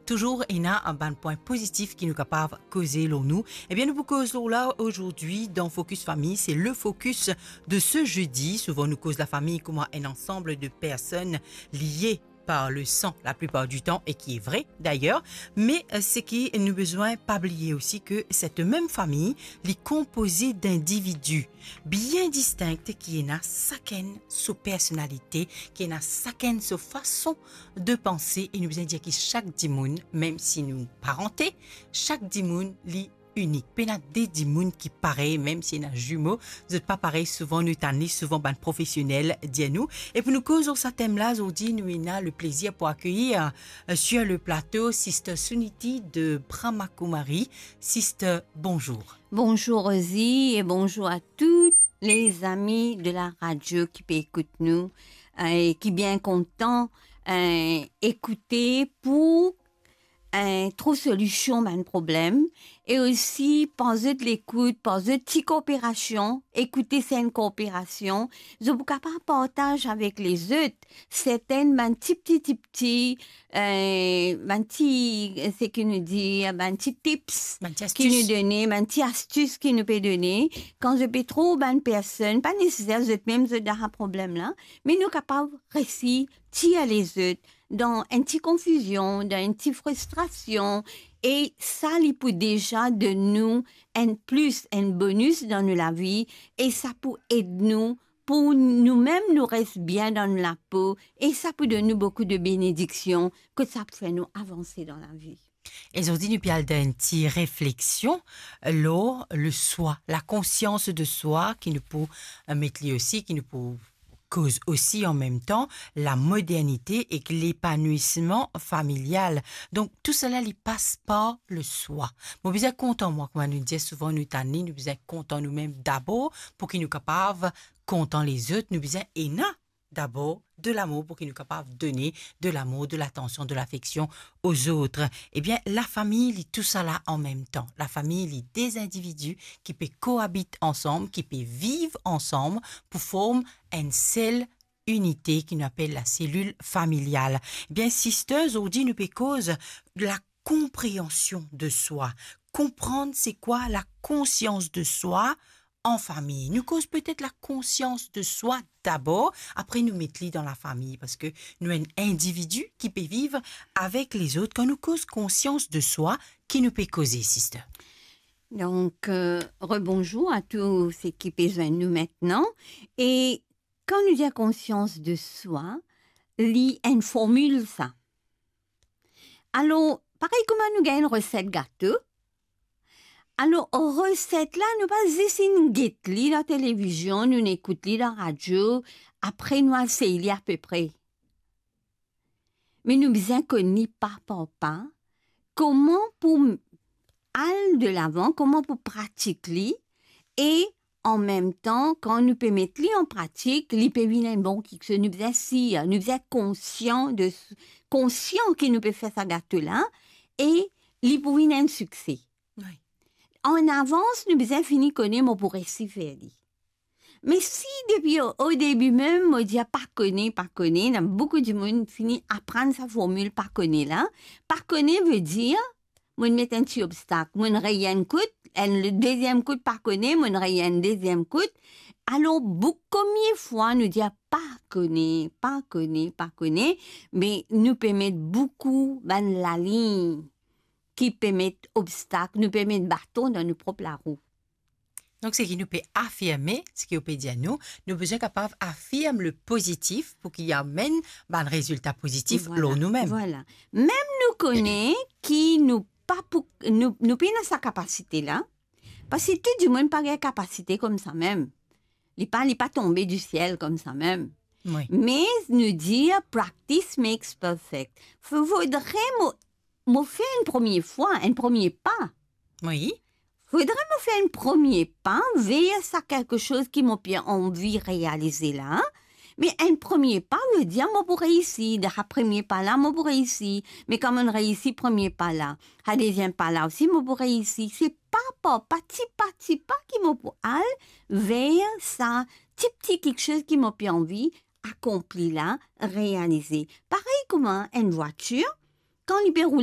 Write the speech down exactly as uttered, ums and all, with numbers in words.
touzour ena bann pwin pozitif ki nou kapav koze lor nou. Ebien, nou pou koz lor la azordi dan Focus Famille, c'est le focus de ce jeudi. Souvan nou koz lafami kouma enn ansanm de personn lie par le san la plipar di tan, e ki e vre dayer, me, euh, seki nou bizin pa bliye osi ke set mem fami, li konpoze dindividi bien distink ki ena sakenn so personalite, ki ena sakenn so fason de panse, e nou bizin dir ki sak dimoun, mem si nou parante, sak dimoun li inik. Pena de dimoun ki parey, mem si ena zimo, zot pa parey. Souvan nou tann li, souvan bann profesionel dir nou. E pou nou koz lor sa tem la, azordi nou ena le plezir pou akeyir, euh, sur le plateau, Sister Suniti de Brahma Kumari. Sister, bonzour. Bonzour Rosie e bonzour a tou lezami de la radio ki pe ekout nou, euh, e ki bien kontan, euh, ekoute pou, euh, trouv solision bann problem, e osi par zot lekout, par zot ti kooperasion, ekoute se enn kooperasion, zot pou kapav partaz avek lezot sertenn bann ti pti, ti pti, euh, bann ti, seki nou dir, bann ti tips Bann ti ki nou astis. Done, bann ti astis ki nou pe done, kan zot pe trouv bann personn, pa neseser zot mem zot dan sa problem la, me nou kapav resi tir lezot dan enn ti konfizion, dan enn ti fristrasion, e sa li pou deza donn nou enn plis, enn bonis dan nou lavi, e sa pou ed nou pou nou mem nou res bien dan nou lapo, e sa pou donn nou boukou de benediksion, kot sa pou fer nou avanse dan lavi. E zordi nou pe al dan enn ti refleksion lor le swa, la konsians de swa, ki nou pou, euh, met li osi, ki nou pou koz osi an mem tan, lamodernite ek lepanouisman familial. Donk, tousala li pas par le swa. Mo bizin kontan mwa, kouma nou dir souvan, nou tann li, nou bizin kontan nou mem dabor, pou ki nou kapav kontan lezot, nou bizin ena dabor de lamour pou ki nou kapav done de lamour, de latansion, de lafeksion aux autres. Ebien, lafami, li tousala an mem tan. Lafami, li de zindividi ki pe koabit ansam, ki pe viv ansam pou form enn sel inite ki nou apel la selil familial. Ebien, sister, zordi nou pe koz la konpreansion de swa. Konprann se kwa la konsians de swa an fami. Nou koz petet la konsians de swa dabor, apre nou met li dan lafami, parski nou enn individi ki pe viv avek lezot. Kan nou koz konsians de swa, ki nou pe koze, sister? Donk, euh, rebonzour a tou seki pe zwenn nou aster. E kan nou dir konsians de swa, li enn formil sa. Alor, parey kouma nou gagn enn reset gato, alor, reset la, nou pa zis inn get li dan televizion, nou inn ekout li dan radio, apre nou al sey li apepre. Me nou bizin konn li pa par pa, kouma pou al delavan, kouma pou pratik li, e an mem tan, kan nou pe met li an pratik, li pe vinn enn bon kiksoz. Nou bizin sir, nou bizin konsian de, konsian ki nou pe fer sa gato la, e li pou vinn enn sikse. Wi. An avans, nou bizin fini kone mo pou resi fer li. Me si depi o, o debi mem, mo dir pa kone, pa kone, ena boukou dimoun fini aprann sa formil pa kone la. Pa kone vedir, mo met enn ti obstak, mo rey enn kout, enn, le deziem kout pa kone, mo rey enn deziem kout. Alor, boukou, komie fwa nou dir pa kone, pa kone, pa kone, me nou pe met boukou bann lalign ki pe met obstak, nou pe met baton dan nou prop larou. Donk, seki nou pe afirme, seki ou pe dir nou, nou bizin kapav afirm le pozitif pou ki amenn bann rezilta pozitif lor nou mem. Vwala. Mem nou kone ki nou pa pou, nou, nou pena sa kapasite la, parski tou dimoun pa gagn kapasite koumsa mem. Li pa, li pa tonbe di siel koumsa mem. Wi. Me nou dir practice makes perfect. Fo-, fodre mo, mo fer enn premie fwa, enn premie pa. Wi. Fodre mo fer enn premie pa ver sa kelke soz ki mo pe anvi realize la. Me enn premie pa, vedir mo pou reisi. Dan sa premie pa la, mo pou reisi. Me kan mo reisi premie pa la, sa deziem pa la osi, mo pou reisi. Se pa par pa, ti pa, ti pa ki mo pou al ver sa ti, ti kiksoz ki mo pe anvi akonpli la, realize. Parey kouma enn vwatir, kan li pe roule